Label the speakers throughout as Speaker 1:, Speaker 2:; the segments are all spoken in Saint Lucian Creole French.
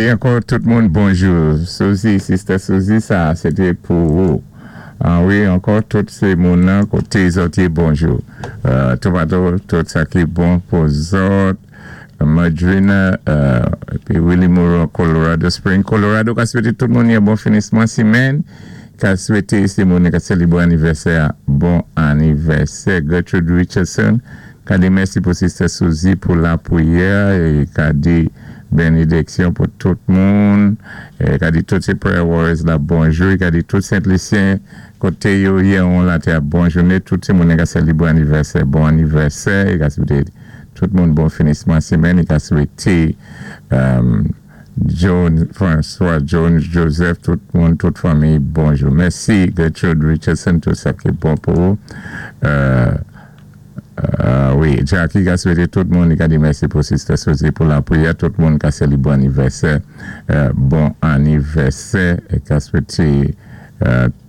Speaker 1: Di ankò tout moun bonjou. Suzy, Sister Suzy, sa sé té pou ou. Ah wi, ankò tout sé moun nan koté zòt yé, bonjou. Tomato, tout sa ki bon pou zòt. Madrina, épi Willie Moreau, Colorado Spring, Colorado, ka swété tout moun yon bon finisman simèn. Ka swété sé moun ka sélébwé anivèsè, bon anivèsè. Gertrude Richardson, ka di mèsi pou Sister Suzy pou lapriyè é ka di bénédiksyon pou tout moun. É ka di tout sé prayer warriors la bonjou. É ka di tout Sent Lisyen koté yo yé an latè bon jouné. Tout sé moun ka sélébwé anivèsè, bon anivèsè. É ka swété tout moun bon finisman simèn. É ka swété Jones, François Jones, Joseph, tout moun, tout fanmi, bonjou. Mèsi, Gertrude Richardson, tout sa ki bon pou ou. Wi, Jackie ka swété tout moun, li ka di mèsi pou Sister Suzy pou lapriyè, tout moun ka sélébwé anivèsè, bon anivèsè, é ka swété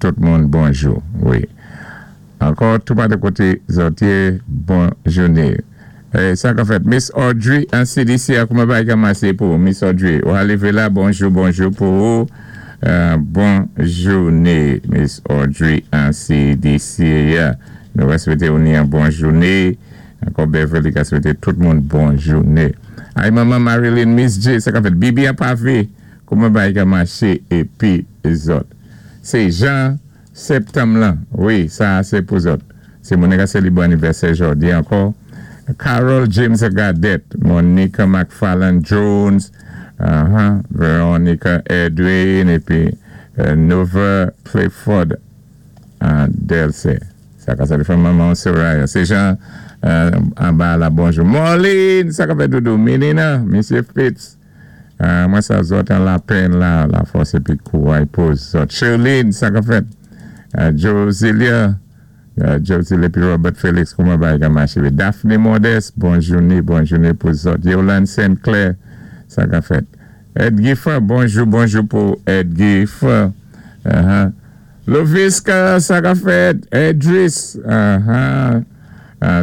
Speaker 1: tout moun bonjou, wi. Ankò, tout pa de koté zòt yé, bon jouné. Sa ka fèt. Miss Audrey an CDC a, kouman bagay ka masé pou ou? Miss Audrey, ou alivé la, bonjou, bonjou pou ou. Bon jouné, Miss Audrey an CDC. Nou va swété ou ni yon bon jouné. Ankò Beverly ka swété tout moun bon jouné. Ay manman Marilyn, Miss J, sa ka fèt. Bibi an pavé, kouman bagay ka maché épi zòt. Sé Jean Septanm lan, wi, sa a sé pou zòt. Sé moun ka sélébwé anivèsè jòdi ankò. Carol James Gadet, Monica McFarland Jones, Veronica Edwin, épi Nova Clifford Delce. Sa ka sa fè manman Soraya. Sé Jean anba la, bonjou. Marlene, sa ka fèt doudou? Melina, Mesye Fitz. Mwen sa zòt an lapenn la, lafòs épi kouray pou zòt. Sherline, sa ka fèt? Josilia, Josilia épi Robert Felix, kouman bagay ka maché? Daphne Modeste, bon jouné, bon jouné pou zòt. Yolande Saint Clair, sa ka fèt? Ed Gifford, bonjou, bonjou pou Ed Gifford. Loviska, sa ka fèt? Edris,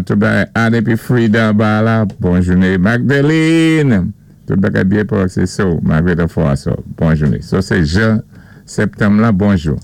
Speaker 1: tout bagay Anne épi Frida ba la, bon jouné. Magdalene, tout bagay byen pou se so, Margaret Afoaso, bon jouné. So sé Jean Septanm la, bonjou.